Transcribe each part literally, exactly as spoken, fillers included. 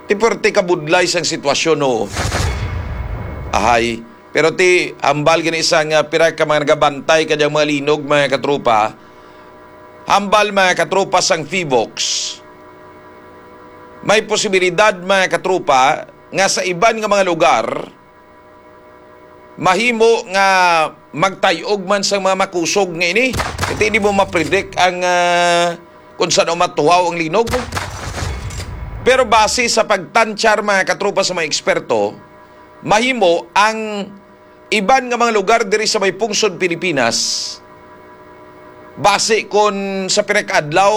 Ti puwerte ka budlay sang sitwasyon, no? Ahay. Pero ti hambal gani sang, ah, pira ka mga nagabantay kadyang mga linog, mga katropa. Hambal, mga katropa, sang PHIVOLCS. May posibilidad, mga katropa, nga sa iban nga mga lugar, mahimo nga magtay-og man sang mga makusog nga ini. Iti hindi mo mapredict ang, ah, kung saan matuhaw ang linog. Pero base sa pagtantyar, mga katropa, sa mga eksperto, mahimo ang iban nga mga lugar diri sa may pungsod Pilipinas, base kon sa pinakaadlaw,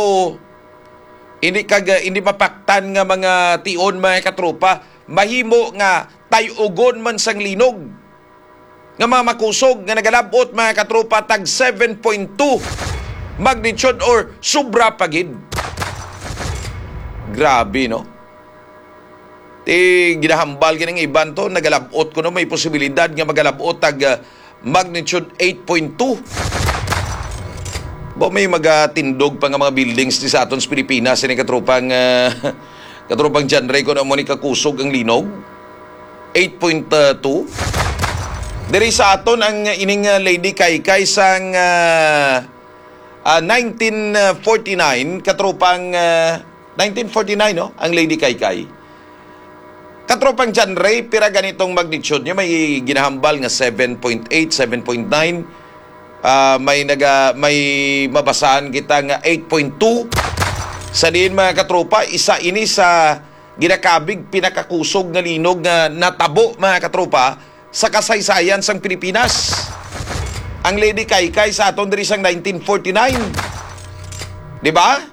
hindi kag, hindi mapaktan nga mga tion, mga katropa, mahimo nga tay-ugon man sang linog nga mga makusog nga nagalab-ot, mga katropa, tag seven point two magnitude or sobra pa gid. Grabe, no? Ti ginahambal ganing iban to, nagalab-ot kuno, may posibilidad nga magalab-ot tag, ah, magnitude eight point two. Ba may magatindog pa nga mga buildings di sa aton sa Pilipinas, ini katropang, ah, katropang John Ray, kung amo ni kakusog ang linog? Eight point two. Diri sa aton ang ining, ah, Lady Kaykay sang, ah, ah, nineteen forty-nine, katropang, ah, nineteen forty-nine, no? Ang Lady Kaykay. Katropang John Ray, pira ganitong magnitude niya? May ginahambal nga seven point eight, seven point nine. Ah, may naga-, may mabasahan kita nga eight point two. Sa diin, mga katropa, isa ini sa ginakabig pinakakusog nga linog nga natabo, mga katropa, sa kasaysayan sang Pilipinas. Ang Lady Kaykay sa aton diri sang nineteen forty-nine. Di ba?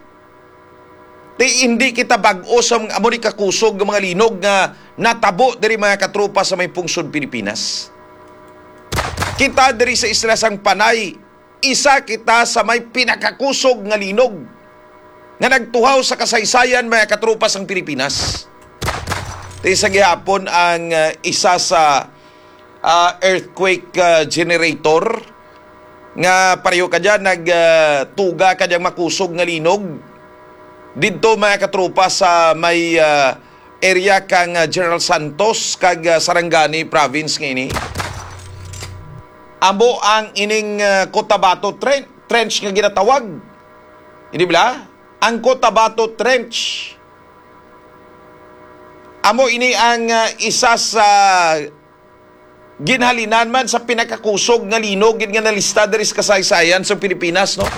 Ti hindi kita bag-o sa mga amo ni kakusog nga mga linog nga natabo diri, mga katropa, sa may pungsod Pilipinas. Kita diri sa Isla sang Panay, isa kita sa may pinakakusog nga linog nga nagtuhaw sa kasaysayan, mga katropa, sang Pilipinas. Ti sa gihapon ang, ah, isa sa, ah, earthquake, ah, generator nga pareho ka dyan, nag, ah, tuga ka dyang makusog nga linog didto, mga katropa, sa may, ah, area kang, ah, General Santos kag, ah, Sarangani province nga ini. Amo ang ining, ah, Cotabato Tren-, Trench nga ginatawag. Hindi bala? Ang Cotabato Trench. Amo ini ang, ah, isa sa ginhalinan man sa pinakakusog nga linog gid nga nalista diri sa kasaysayan sa Pilipinas, no?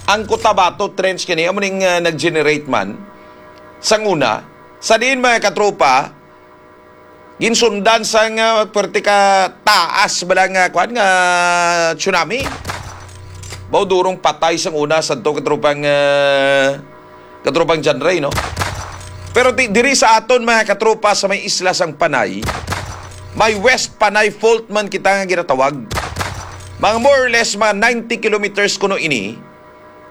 Ang Cotabato Trench kini amo ning, ah, nag-generate man sang una. Sa diin, mga katropa, ginsundan sang, ah, puwerte ka taas bala nga, kuwan, nga tsunami. Mao durong patay sang una sadto, katropang, ah, katropang John Ray, no? Pero di-, diri sa aton, mga katropa, sa may isla sang Panay, may West Panay Fault man kita nga ginatawag. Mga more or less, mga ninety kilometers kuno ini,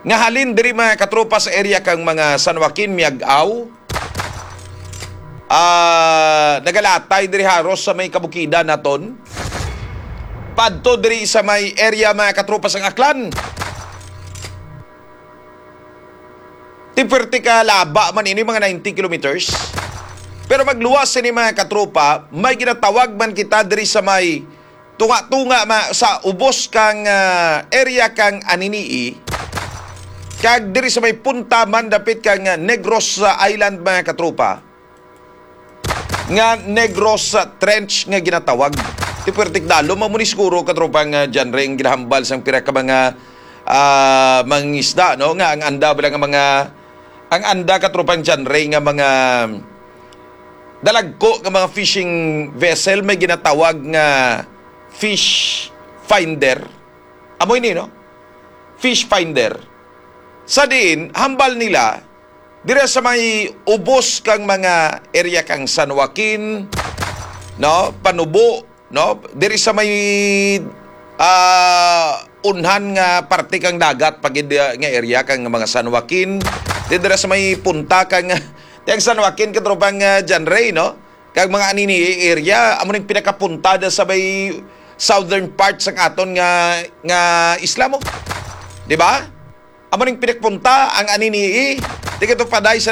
nga halin diri, mga katropa, sa area kang mga San Joaquin, Miag-ao, ah, nagalatay diri haros sa may kabukidan naton. Padto diri sa may area, mga katropa, sang Aklan. Ti puwerte ka laba man ini, mga ninety kilometers. Pero magluwas sini, mga katropa, may ginatawag man kita diri sa may tunga-tunga ma-, sa ubos kang, ah, area kang Anini-y, kag diri sa may punta man dapit kang, ah, Negros, ah, Island, mga katropa, nga Negros, ah, Trench nga ginatawag. Ti puwertik dalo, mao ni siguro, katropang, ah, John Ray, ang ginahambal sang pira ka mga, ah, mangingisda, no? Nga ang anda bala nga mga, ang anda, katropang John Ray, nga mga dalagko nga mga fishing vessel may ginatawag nga fish finder. Amo ini, no? Fish finder. Sa diin, hambal nila, dira sa may ubos kang mga area kang San Joaquin, no? Panubo, no? Diri sa may, ah, unhan nga parte kang dagat, pa gid, ah, nga area kang mga San Joaquin. Di dira sa may punta kang, ti ang San Joaquin, katropang, ah, John Ray, no? Kag mga Anini-y area, amo ning pinakapunta da sa may southern part sang aton nga, nga isla mo. Di ba? Amo ning pinakapunta ang Anini-y. Ti kadto paday sa